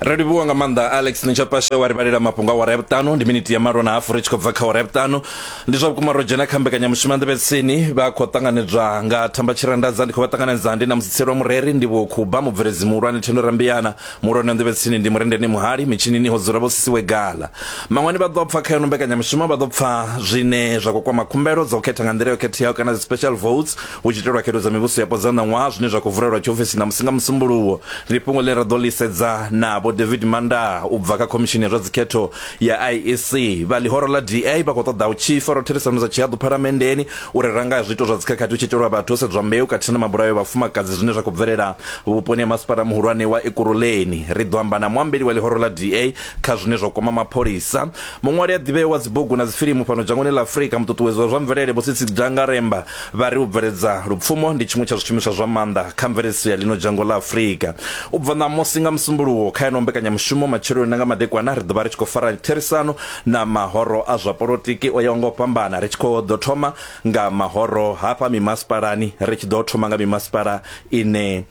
Ro livhuwa nga maanḓa Alex Nitshapashe wa ri vhalela mafhungo a awara ya vhuṱanu ndi miniti ya malo na hafu ri tshi khou bva kha awara ya vhuṱanu. Ndi zwa vhukuma ro dzhena kha mbekanyamushumo ya Nḓevhetsini vha khou ṱanganedzwa nga Thamba Tshirandadza ndi khou vha ṱanganedza ndi na Musitselwa Mureri ndi Vho Khuba mubveledzi muhulwane Thendo Rambiyana muhulwane wa Nḓevhetsini ndi Murendeni Muhali mitshinini ho dzula Vho Sisiwe Gala. Maṅwani vha ḓo pfa kha ino mbekanyamushumo vha ḓo pfa zwine zwa khou kwama khumbelo dza u khetha nga nḓila yo khetheaho kana dzi special votes hu tshi itelwa khetho dza mivhuso yapo dza ṋaṅwaha zwine zwa khou vulelwa tshiofisi ṋamusi nga Musumbuluwo. Ndi fhungo ḽine ra ḓo ḽi sedza na Vho David Mandaa u bva kha Khomishini ya zwa Dzikhetho ya IEC. Vha ḽihoro ḽa DA vha khou ṱoḓa u tshi fara therisano dza tshihaḓu Phalamenndeni uri ra nga zwiito zwa dzikhakhathi hu tshi itelwa vhathu ho sedzwa mbeu khathihi na mabulayo a vhafumakadzi zwine zwa khou bvelela vhuponi ha masipala muhulwane wa Ekurhuleni. Ri ḓo amba na muambeli wa ḽihoro ḽa DA kha zwine zwa kwama mapholisa. Muṅwali a ḓivheaho wa dzibugu na dzifilimu fhano dzhangoni ḽa Afrika, muṱuṱuwedzi wa zwa mvelele Vho Tsitsi Dangaremba vha ri u bveledza lupfumo ndi tshiṅwe tsha zwishumiswa zwa maanḓa kha mveledziso ya ḽino dzhango ḽa Afrika. U bva ṋamusi nga Musumbuluwo kha ino mbekanyamushumo matsheloni na nga madekwana ri ḓo vha ri tshi khou fara therisano na mahoro a zwa polotiki o yaho nga u fhambana ri tshi khou ḓo thoma nga mahoro hafha mimasipalani ri tshi ḓo thoma nga mimasipala ine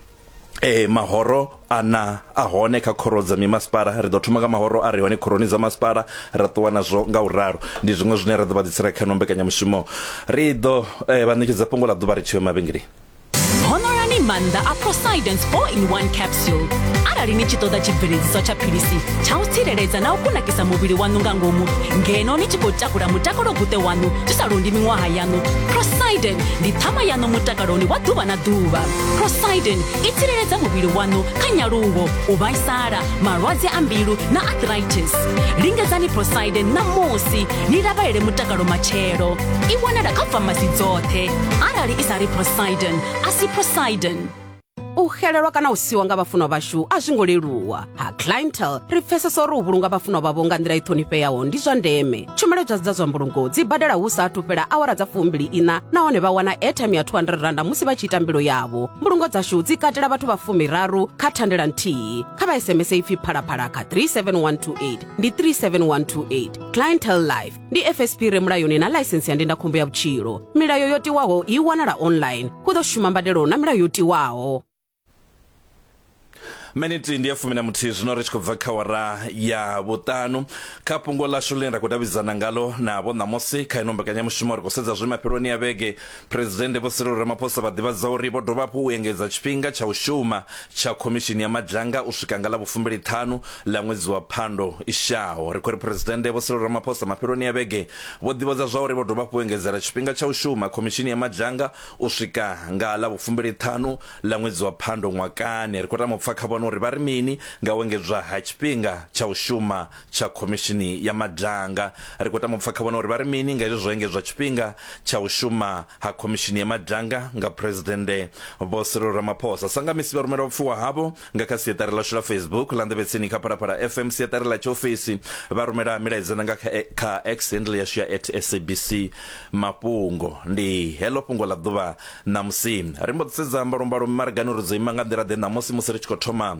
Ee, mahoro ana a hone kha khoro dza mimasipala. Ri ḓo thoma nga mahoro a re hone khoroni dza masipala, ra ṱuwa nazwo nga u ralo. Ndi zwiṅwe zwine ra ḓo vha ḓisela kha ino mbekanyamushumo. Ri ḓo eh, vha ṋetshedza fhungo ḽa ḓuvha ri tshi yo mavhengeleni. Honorani maanḓa a Prosidence 4-in-1 capsule. Arali ni tshi ṱoḓa tshibveledziswa tsha philisi tsha u tsireledza na u kunakisa muvhili waṋu nga ngomu ngeno ni tshi khou takula mutakalo guṱe waṋu zwi sa londi miṅwaha yaṋu, Prosiden ndi ṱhama yaṋu mutakaloni wa ḓuvha na ḓuvha. Prosidin i tsireledza muvhili waṋu kha nyaluwo, u vhaisala, malwadze a mbilu na arthritis. Lingedzani Prosidin ṋamusi ni lavhalele mutakalo matshelo. I wanala kha famasi dzoṱhe. Arali i sa ri Prosidin, a si Prosidin. U xelelwa kana u siwa nga vhafunwa vhashu a zwi ngo leluwa. Ha Clientele ri pfesesa uri u vhulunga vhafunwa vhavho nga nḓila i ṱhonifheaho ndi zwa ndeme. Tshumelo dza dza zwa mbulungo dzi badela hu sa athu fhela awara dza fumbili iṋa nahone vha wana airtime ya 200 randa musi vha tshi ita mbilo yavho. Mbulungo dzashu dzi katela vhathu vha fumiraru kha thandela nthihi. Kha vha SMS ipfi phalaphala kha 37128 ndi 37128. Clientele Life ndi FSP re mulayoni na ḽaisensi ya ndindakhombo ya vhutshilo. Milayo yo tiwaho i wanala online. Hu ḓo shuma mbadelo na milayo yo tiwaho. Miniti ndi ya fumi na muthihi zwino ri tshi khou bva kha wara ya vhuṱanu. Kha fhungo ḽashu ḽine ra khou davhidzana ngalo navho ṋamusi kha ino mbekanyamushumo ri khou sedza zwe mafheloni a vhege Phresidennde Vho Cyril Ramaphosa vha ḓivhadza uri vho dovha hafhu u engedza tshifhinga tsha u shuma tsha khomishini ya madzhanga u swika nga ḽa vhufumbili-ṱhanu ḽa ṅwedzi wa Phando i shaho. Ri khou ri Phresidennde Vho Cyril Ramaphosa mafheloni a vhege vho ḓivhadza zwauri vho dovha hafhu u engedzela tshifhinga tsha u shuma khomishini ya madzhanga u swika nga ḽa vhufumbili-ṱhanu ḽa ṅwedzi wa Phando ṅwakani. Ri khou tama u pfa kha vhone uri vha ri mini nga u engedzwa ha tshifhinga tsha u shuma tsha Khomishini ya Madanga. Ri khou tama u pfa kha vhone uri vha ri mini nga hezwi zwo engedzwa tshifhinga tsha u shuma ha Khomishini ya Madanga nga Phresidennde Vho Cyril Ramaphosa. Sa nga misi vha rumela vhupfiwa havho nga kha siaṱari ḽashu ḽa Facebook ḽa Nḓevhetsini kha Phalaphala FM siaṱari ḽa tshiofisi vha rumela milaedza na nga kha, kha X handle yashu ya at SABC Mafhungo. Ndi heḽo fhungo ḽa ḓuvha Ṋamusi ri mbo ḓi sedza mbalombalo mimaragani uri dzo ima nga nḓila ḓe ṋamusi musi ri tshi khou thoma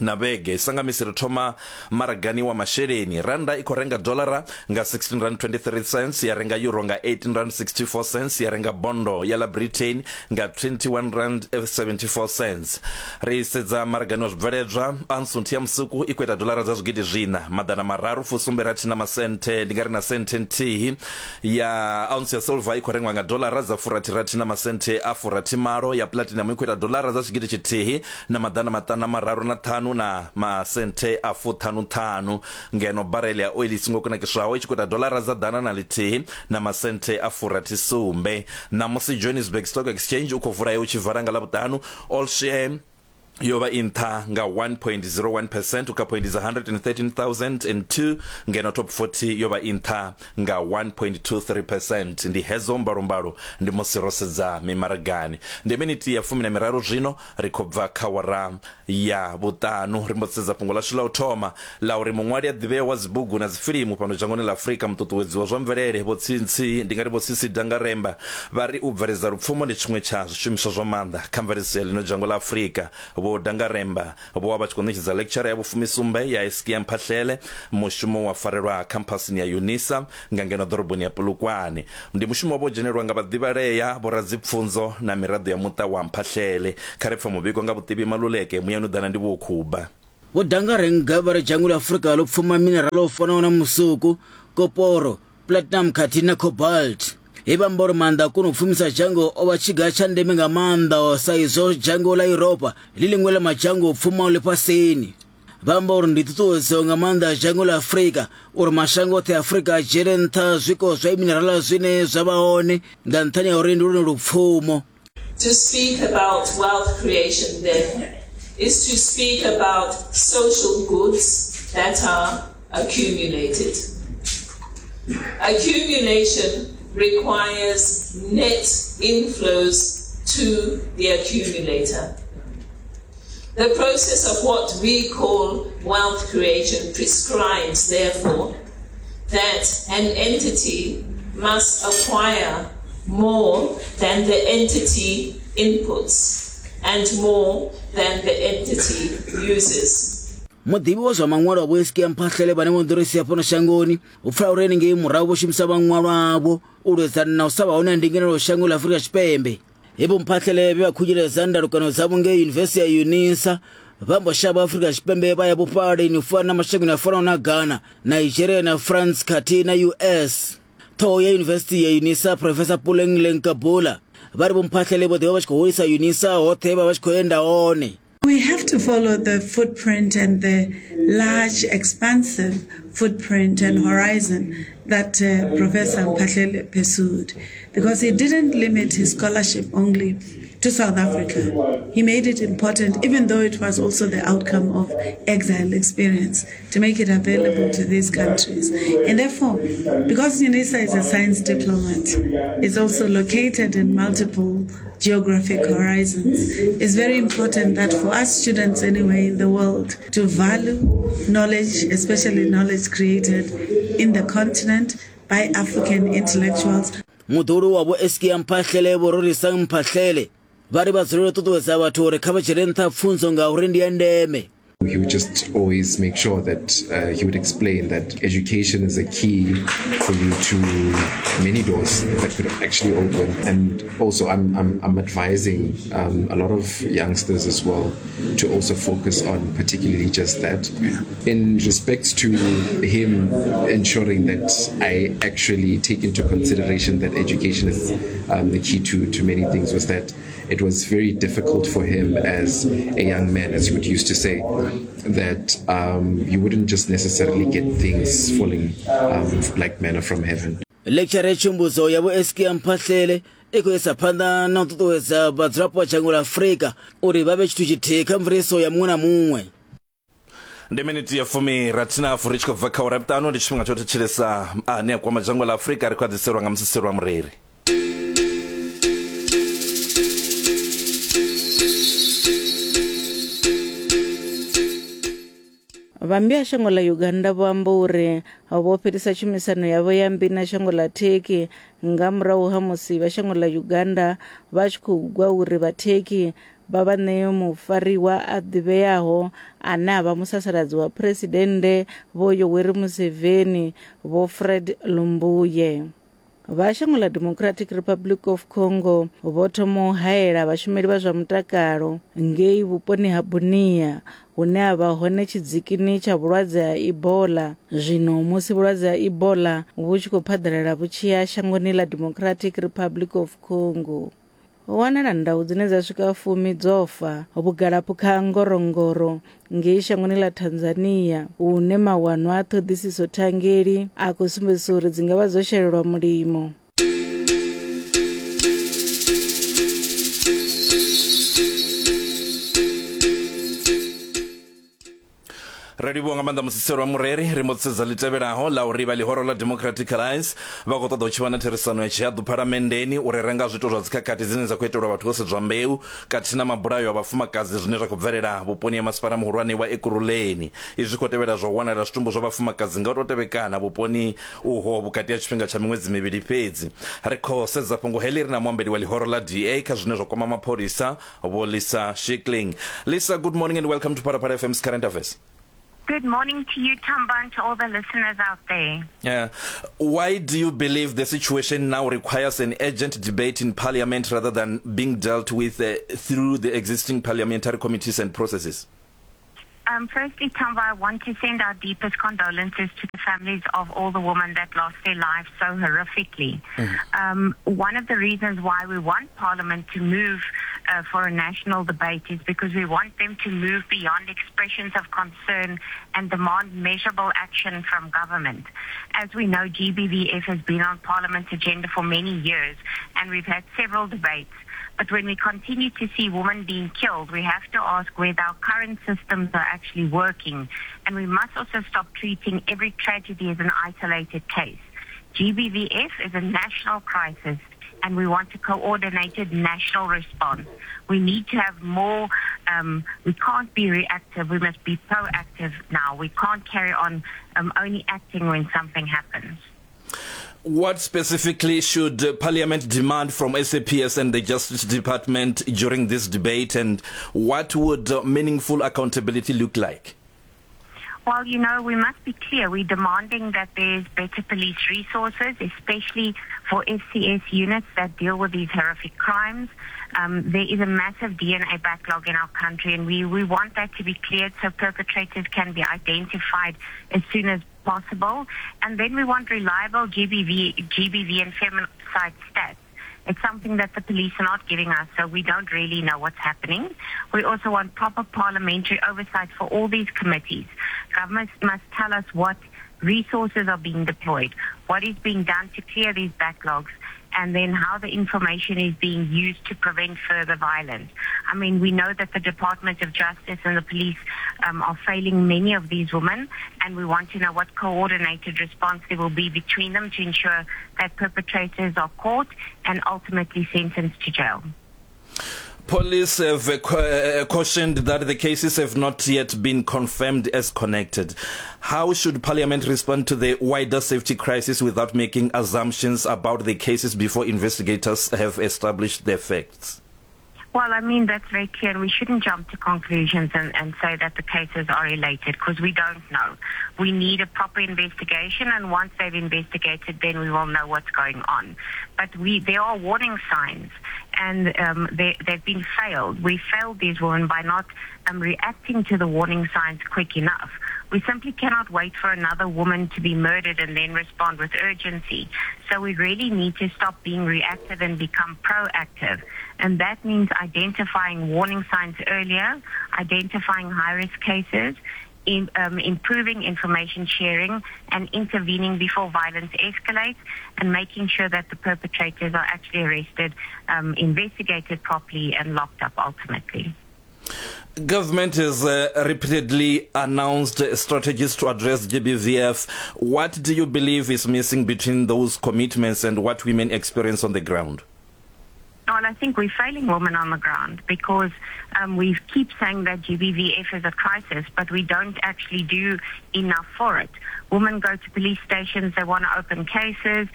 na vhege. Sa nga misi ri thoma maragani wa masheleni. Rannda i khou renga dolara nga 16 rand 23 cents, ya renga euro nga 18 rand 64 cents, ya renga bondo ya ḽa Britain nga 21 rand 74 cents. Ri sedza maragani wa zwibveledzwa, ounce nthihi ya musuku i khou ita dolara dza zwigidi zwiṋa maḓana mararu fusumbe rathi na masenthe, ndi nga ri na senthe nthihi. Ya ounce ya silver i khou rengwa nga dolara dza furathi-rathi na masenthe a furathi-malo, ya platinum i khou ita dolara dza tshigidi tshithihi na maḓana maṱanu na mararu na ṱhanu na masenthe a fuṱhanu-ṱhanu, ngeno barele ya oili i songo kunakiswaho i tshi khou ita dolara dza ḓana na ḽithihi na masenthe a furathi-sumbe. Ṋamusi Johannesburg Stock Exchange u khou vula u tshi vala nga Ḽavhuṱanu, All Share yo vha i nṱha nga 1.01 percent u kha phoindi dza 113,002 ngeno top 40 yo vha i nṱha nga 1.23 percent. Ndi hedzo mbalombalo ndi musi ro sedza mimaragani. Ndi miniti ya fumi na miraru zwino ri khou bva kha wara ya vhuṱanu. Ri mbo sedza fhungo ḽashu ḽa u thoma ḽa uri muṅwali a ḓivhea wa dzibugu na dzifilimu fhano dzhangoni ḽa Afrika muṱuṱuwedzi wa zwa mvelele Vho Tsintsi ndi nga ri Vho Tsitsi Dangaremba vha ri u bveledza lupfumo ndi tshiṅwe tsha zwishumiswa zwa maanḓa kha mveledziso ya ḽino dzhango ḽa Afrika. Vho Dangaremba vho vha vha tshi khou ṋetshedza lecture ya vhufumisumbe ya Eskia Mphahlele, mushumo wa farelwa khamphasini ya Unisa nga ngeno ḓoroboni ya Polokwane. Ndi mushumo wa vho dzhenelwa nga vhaḓivhalea, vhoradzipfunzo na miraḓo ya muṱa wa Mphahlele. Kha ri pfe muvhigo nga Vhuṱivhi Maluleke, Muyani u ḓana ndi Vho Khuba. Vho Dangarembga vha ri dzhango ḽa Afrika ḽo pfuma minerala u fanaho na musuku, koporo, platinum khathihi na cobalt. He vha amba uri maanḓa a kona u pfumisa dzhango o vha tshiga tsha ndeme nga maanḓa sa izwo dzhango ḽa Yuropa ḽi ḽiṅwe ḽa madzhango o pfumaho ḽifhasini. Vha amba uri ndi ṱhuṱhuwedzo nga maanḓa dzhango ḽa Afrika uri mashango oṱhe a Afrika a dzhiele nṱha zwiko zwa minerala zwine zwa vha hone nga nṱhani ha uri ndi lwone lupfumo. To speak about wealth creation then is to speak about social goods that are accumulated. Accumulation requires net inflows to the accumulator. The process of what we call wealth creation prescribes, therefore, that an entity must acquire more than the entity inputs and more than the entity uses. Muḓivhi wa zwa maṅwalo Vho Hiskia Mphahlele vhane vho ḓo ri sia fhano shangoni hu pfala uri henengei murahu vho shumisa maṅwalo avho u lwedzana na u sa vha hone ha ndinganelo shango ḽa Afrika Tshipembe. He Vho Mphahlele vhe vha khunyeledza ndalukano dzavho ngei Yunivesithi ya Unisa vha mbo shavha Afrika Tshipembe vha ya vhufhaleni u fana na mashangoni a fanaho na Ghana, Nigeria na France khathihi na US. Ṱhoho ya Yunivesithi ya Unisa Professor Puleng Lenkabula vha ri Vho Mphahlele vho ḓi vha vha tshi khou hulisa Unisa hoṱhe vha vha tshi khou enda hone. We have to follow the footprint and the large, expansive footprint and horizon that uh, Professor Mphahlele pursued, because he didn't limit his scholarship only to South Africa. He made it important, even though it was also the outcome of exile experience, to make it available to these countries. And therefore, because UNISA is a science diplomat, it's also located in multiple geographic horizons. It's very important that for us students anyway in the world to value knowledge, especially knowledge created in the continent by African intellectuals. Muḓuhulu wa Vho Eskia Mphahlele Vho Rorisang Mphahlele vha ri vha dzulela u ṱuṱuwedza vhathu uri kha vha dzhiele nṱha pfunzo ngauri ndi ya ndeme. He would just always make sure that uh, he would explain that education is a key for you to many doors that could actually open. And also, I'm, I'm, I'm advising um, a lot of youngsters as well to also focus on particularly just that. Yeah. In respect to him ensuring that I actually take into consideration that education is um, the key to, to many things was that it was very difficult for him as a young man, as he would used to say, that um, you wouldn't just necessarily get things falling um, like manna from heaven. Lecture ya tshumbudzo ya Vho Eskia Mphahlele i khou isa phanḓa na u ṱuṱuwedza vhadzulapo vha dzhango ḽa Afrika uri vha vhe tshithu tshithihi kha mveledziso ya muṅwe na muṅwe. Ndi miniti ya fumi rathi na hafu ri tshi khou bva kha ura vhuṱanu ndi tshifhinga tsho thetshelesa ane a kwama dzhango ḽa Afrika ri khou a ḓiselwa nga musiselo wa mureri. Vha mmbi ya shango ḽa Uganda vho amba uri vho fhelisa tshumisano yavho ya mmbi na shango ḽa Turkey nga murahu ha musi vha shango ḽa Uganda vha tshi khou gwa uri vha Turkey vha vha ṋee mufariwa a ḓivheaho ane a vha musasaladzi wa Phresidennde Vho Yoweri Museveni Vho Fred Lumbuye. Vha shango ḽa Democratic Republic of Congo vho thoma u haela vhashumeli vha zwa mutakalo ngei vhuponi ha Bunia hune ha vha hone tshidzikini tsha vhulwadze ha Ebola zwino musi vhulwadze ha Ebola vhu tshi khou phaḓalala vhu tshi ya shangoni ḽa Democratic Republic of Congo. Ho wanala ndau dzine dza swika fumi dzo fa vhugalaphukha ha Ngorongoro ngei shangoni ḽa Tanzania hune mawanwa a ṱhoḓisiso thangeli a khou sumbedzisa uri dzi nga vha dzo shelelwa mulimo. Ri livhuwa nga maanḓa musiselo wa mureri ri mbo sedza ḽi tevhelaho ḽa uri vha ḽihoro ḽa Democratic Alliance vha khou ṱoḓa u tshi vha na therisano ya tshihaḓu phalamenndeni uri renga zwithu zwa dzikhakhathi dzine dza khou itelwa vhathu vho sedzwa mbeu khathihi na mabulayo a vhafumakadzi zwine zwa khou bvelela vhuponi ha masipala muhulwane wa Ekurhuleni. Izwi zwi khou tevhela zwa u wanala zwitumbu zwa vhafumakadzi nga u tou tevhekana vhuponi uho vhukati ha tshifhinga tsha miṅwedzi mivhili fhedzi. Ri khou sedza fhungo heḽi ri na muambeli wa ḽihoro ḽa DA kha zwine zwa kwama mapholisa Vho Lisa Shikling. Lisa, good morning and welcome to Phalaphala FM's Current Affairs. Good morning to you, Tamba, and to all the listeners out there. Yeah. Why do you believe the situation now requires an urgent debate in Parliament rather than being dealt with uh, through the existing parliamentary committees and processes? Firstly, Tamba, I want to send our deepest condolences to the families of all the women that lost their lives so horrifically. One of the reasons why we want Parliament to move for a national debate is because we want them to move beyond expressions of concern and demand measurable action from government. As we know, GBVF has been on Parliament's agenda for many years, and we've had several debates. But when we continue to see women being killed, we have to ask whether our current systems are actually working. And we must also stop treating every tragedy as an isolated case. GBVF is a national crisis, and we want a coordinated national response. We need to have more. We can't be reactive. We must be proactive now. We can't carry on only acting when something happens. What specifically should Parliament demand from SAPS and the Justice Department during this debate, and what would meaningful accountability look like? Well, you know, we must be clear. We're demanding that there's better police resources, especially for SCS units that deal with these horrific crimes. There is a massive DNA backlog in our country, and we want that to be cleared so perpetrators can be identified as soon as possible. And then we want reliable GBV and femicide stats. It's something that the police are not giving us, so we don't really know what's happening. We also want proper parliamentary oversight for all these committees. Government must tell us what resources are being deployed, what is being done to clear these backlogs, and then how the information is being used to prevent further violence. I mean, we know that the Department of Justice and the police are failing many of these women, and we want to know what coordinated response there will be between them to ensure that perpetrators are caught and ultimately sentenced to jail. Police have cautioned that the cases have not yet been confirmed as connected. How should Parliament respond to the wider safety crisis without making assumptions about the cases before investigators have established their facts? Well, I mean, that's very clear. And we shouldn't jump to conclusions and say that the cases are related, because we don't know. We need a proper investigation, and once they've investigated, then we will know what's going on. But there are warning signs, and they've been failed. We failed these women by not reacting to the warning signs quick enough. We simply cannot wait for another woman to be murdered and then respond with urgency. So we really need to stop being reactive and become proactive. And that means identifying warning signs earlier, identifying high-risk cases, improving information sharing and intervening before violence escalates, and making sure that the perpetrators are actually arrested, investigated properly and locked up ultimately. Government has repeatedly announced strategies to address GBVF. What do you believe is missing between those commitments and what women experience on the ground? Well, I think we're failing women on the ground because we keep saying that GBVF is a crisis, but we don't actually do enough for it. Women go to police stations, they want to open cases,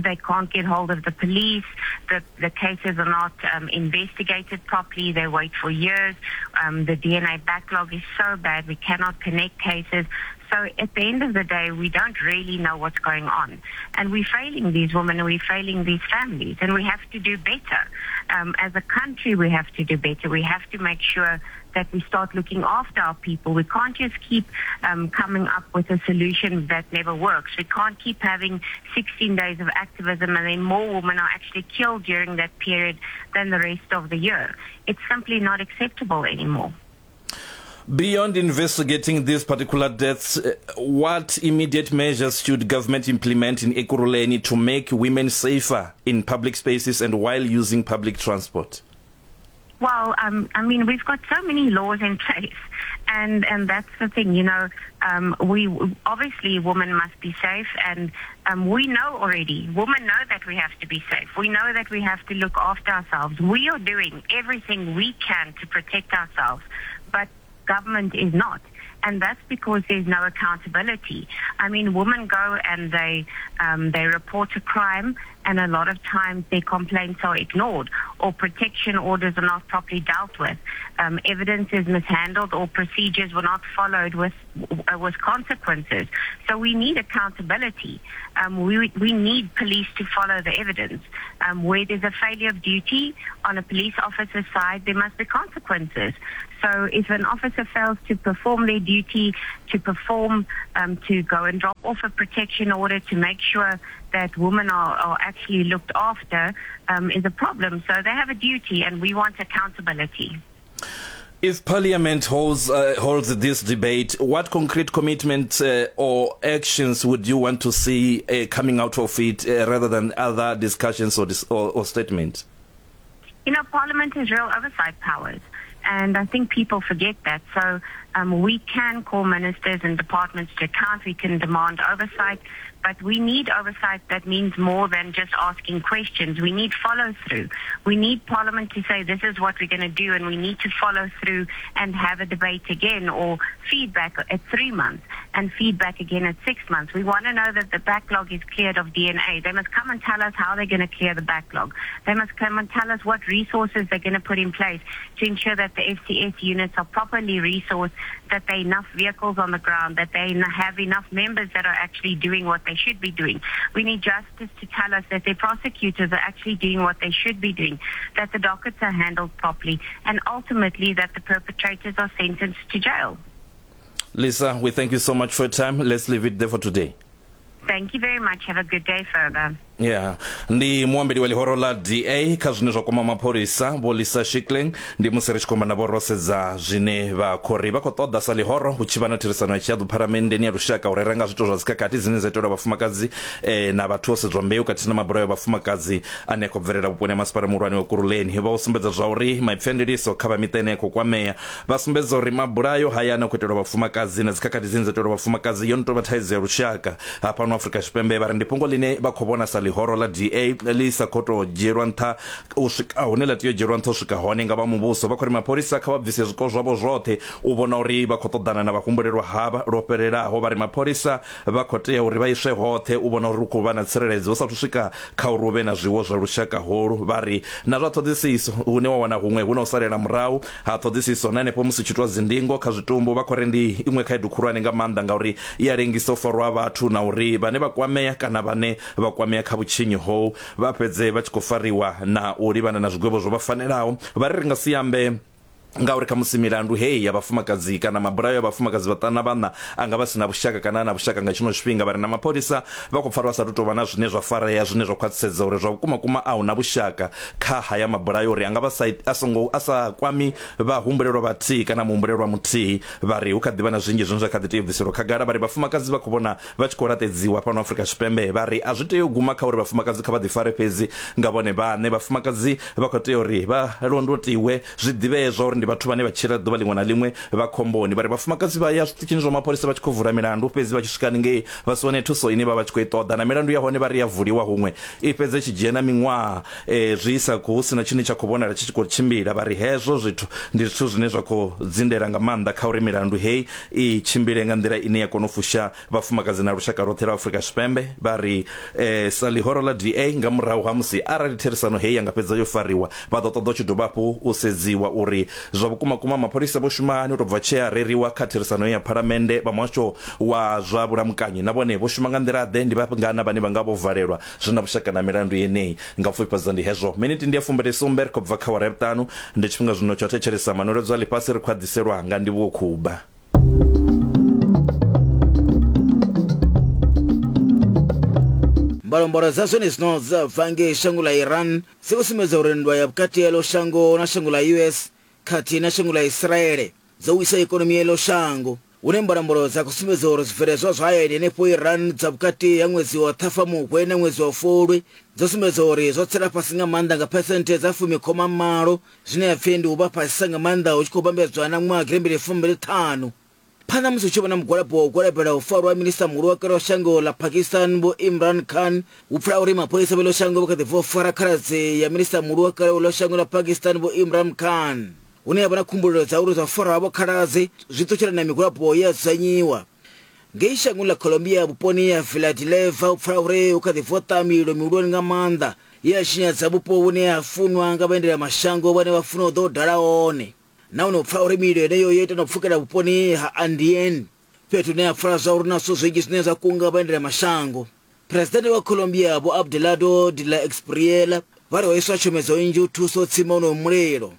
they can't get hold of the police, the cases are not investigated properly, they wait for years, the DNA backlog is so bad, we cannot connect cases. So at the end of the day, we don't really know what's going on. And we're failing these women and we're failing these families, and we have to do better. As a country, we have to do better. We have to make sure that we start looking after our people. We can't just keep coming up with a solution that never works. We can't keep having 16 days of activism and then more women are actually killed during that period than the rest of the year. It's simply not acceptable anymore. Beyond investigating these particular deaths, what immediate measures should government implement in Ekurhuleni to make women safer in public spaces and while using public transport? Well, I mean, we've got so many laws in place, and that's the thing, you know. We obviously, women must be safe, and we know already, women know that we have to be safe. We know that we have to look after ourselves. We are doing everything we can to protect ourselves, but government is not. And that's because there's no accountability. I mean, women go and they report a crime, And a lot of times their complaints are ignored or protection orders are not properly dealt with. Um, evidence is mishandled or procedures were not followed with, uh, with consequences. So we need accountability. Um, we, we need police to follow the evidence. Um, where there's a failure of duty on a police officer's side, there must be consequences. So if an officer fails to perform their duty, to perform, um, to go and drop off a protection order to make sure that women are, are actually looked after, um, is a problem. So they have a duty and we want accountability. If Parliament holds, uh, holds this debate, what concrete commitment uh, or actions would you want to see uh, coming out of it uh, rather than other discussions or, dis or, or statements? You know, Parliament has real oversight powers. And I think people forget that. So um, we can call ministers and departments to account. We can demand oversight. But we need oversight that means more than just asking questions. We need follow through. We need Parliament to say this is what we're going to do and we need to follow through and have a debate again or feedback at three months and feedback again at six months. We want to know that the backlog is cleared of DNA. They must come and tell us how they're going to clear the backlog. They must come and tell us what resources they're going to put in place to ensure that the FCS units are properly resourced, that there are enough vehicles on the ground, that they have enough members that are actually doing what they should be doing. We need justice to tell us that their prosecutors are actually doing what they should be doing, that the dockets are handled properly, and ultimately that the perpetrators are sentenced to jail. Lisa, we thank you so much for your time. Let's leave it there for today. Thank you very much. Have a good day further. Yeah. Ndi muambeli wa ḽihoro ḽa DA kha zwine zwa kwama mapholisa Vho Lisa Shikling ndi musi ri tshi khou amba navho ro sedza zwine vha khou ri vha khou ṱoḓa sa ḽihoro hu tshi vha na therisano ya tshihaḓu phalamenndeni ya lushaka u rera nga zwithu zwa dzikhakhathi dzine dza itelwa vhafumakadzi eh, na vhathu vho sedzwa mbeu khathihi na mabulayo a vhafumakadzi ane a khou bvelela vhuponi ha masipala muhulwane wa Kuruleni vha u sumbedza zwa uri maipfi a ndiliso kha vha miṱa ine ya khou kwamea Vha sumbedza uri mabulayo haya ane a khou itelwa vhafumakadzi na dzikhakhathi dzine dza itelwa vhafumakadzi yo no tou vha thaidzo ya lushaka hafhano Afrika Tshipembe. Vha ri ndi fhungo ḽine vha khou vhona sa ḽihoro ḽa DA ḽi sa khou tou dzhielwa nṱha u swika hune ḽa tea u dzhielwa nṱha u swika hone nga vha muvhuso. Vha khou ri mapholisa kha vha bvise zwiko zwavho zwoṱhe u vhona uri vha khou ṱoḓana na vhahumbulelwa havha lwo fhelelaho. Vha ri mapholisa vha khou tea uri vha iswe hoṱhe u vhona uri hu khou vha na tsireledzo hu sathu swika kha uri hu vhe na zwiwo zwa lushaka holu. Vha ri na zwa ṱhoḓisiso hune wa wana huṅwe hu na u salela murahu ha ṱhoḓisiso na henefho musi tshi itwa dzindingo kha zwitumbu vha khou ri ndi iṅwe khaedu khulwane nga maanḓa ngauri i a lengisa u farwa ha vhathu na uri vhane vha kwamea kana vhane vha kwamea kha vhutshinyi hou vha fhedze vha tshi khou fariwa na u livhana na zwigwevho zwo vha fanelaho. Vha ri ri nga si ambe ngauri khamusi milandu heyi ya vhafumakadzi kana mabulayo a vhafumakadzi vhaṱanu na vhaṋa a nga vha si na vhushaka kana a na vhushaka nga tshino tshifhinga. Vha re na mapholisa vha khou pfa vha sa tu tou vha na zwine zwa farea zwine zwa khwaṱhisedza uri zwa vhukumakuma a hu na vhushaka kha haya mabulayo uri a nga vha sa a songo a sa kwami vhahumbulelwa vhathihi kana muhumbulelwa muthihi. Vha ri hu kha ḓi vha na zwinzhi zwine zwa kha ḓi tea u bviselwa khagala. Vha ri vhafumakadzi vha khou vhona vha tshi khou laṱedziwa fhano Afrika Tshipembe. Vha ri a zwi tei u guma kha uri vhafumakadzi kha vha ḓifare fhedzi nga vhone vhaṋe. Vhafumakadzi vha khou tea uri vha londotiwe, zwi ḓivhee zwa uri ndi vhathu vhane vha tshila ḓuvha ḽiṅwe na ḽiṅwe vha khomboni. Vha ri vhafumakadzi vha ya zwiṱitshini zwa mapholisa vha tshi khou vula milandu, fhedzi vha tshi swika haningei vha si wane thuso ine vha vha tshi khou i ṱoḓa. Na milandu ya hone vha ri ya vuliwa huṅwe i fhedza i tshi dzhia na miṅwaha zwi sa khou hu si na tshine tsha khou vhonala tshi tshi khou tshimbila. Vha ri hezwo zwithu ndi zwithu zwine zwa khou dzindela nga maanḓa kha uri milandu heyi i tshimbile nga nḓila ine ya kona u fusha vhafumakadzi na lushaka lwoṱhe lwa Afrika Tshipembe. Vha ri sa ḽihoro ḽa DA nga murahu ha musi arali therisano heyi ya nga fhedza yo fariwa, vha ḓo ṱoḓa u tshi dovha hafhu u sedziwa uri zwa vhukumakuma mapholisa vho shuma hani u tou bva tshe a reriwa kha therisano ya Phalamennde. Vha muhasho wa zwa vhulamukanyi na vhone vho shuma nga nḓila-ḓe, ndi vhangana vhane vha nga vho valelwa zwi na vhushaka na milandu yeneyi. Nga u pfufhifhadza ndi hezwo. Miniti ndi ya fumbili sumbe ri khou bva kha awara ya vhuṱanu. Ndi tshifhinga zwino tsha u thetshelesa manweledzo a ḽifhasi ri khou a ḓiselwa nga Ndivhuwo Khuba. Mbalombalo dza zwenezwino dza bva ngei shango ḽa Iran dzi khou sumbedza uri nndwa ya vhukati ha iḽo shango na shango ḽa US khathihi na shango ḽa Israele dzo wisa ikonomi ya iḽo shango, hune mbalombalo dza khou sumbedza uri zwibveledzwa zwa hayani henefho Iran dza vhukati ha ṅwedzi wa Ṱhafamuhwe na ṅwedzi wa Fulwi dzo sumbedza uri zwo tsela fhasi nga maanḓa nga phesenthe dza fumi khoma malo, zwine ha pfi ndi u vha fhasisa nga maanḓa hu tshi khou vhambedzwa na ṅwaha gidimbili fumbili ṱhanu. Phanḓa musi hu tshi vha na mugwalabo wa u gwalabela u farwa ha minisiṱa muhulu wa kale wa shango ḽa Pakistan Vho Imran Khan, hu pfala uri mapholisa vha ḽo shango vha kha ḓi bva u fara khaladzi ya minisiṱa muhulu wa kale wa ḽo shango ḽa Pakistan Vho Imran Khan, hune ha vha na khumbulelo dza uri zwa u farwa ha vho khaladzi zwi ṱutshela na migwalabo ye ya dzudzanyiwa. Ngei shangoni ḽa Colombia vhuponi ha Villa de Leyva hu pfala uri hu kha ḓi voṱa mililo mihulwane nga maanḓa ye ya tshinyadza vhupo vhune ha funwa nga vhaendelamashango vhane vha funa u ḓa u dala hone. Nahone hu pfala uri mililo yeneyo yo ita na u pfukela vhuponi ha Andean, fhethu hune ha pfala zwa uri hu na zwithu zwinzhi zwine zwa kunga vhaendelamashango. Phresidennde wa Colombia Vho Abelardo de la Espriella vha ri ho iswa tshomedzo nnzhi u thusa u tsima wonoyo mulilo.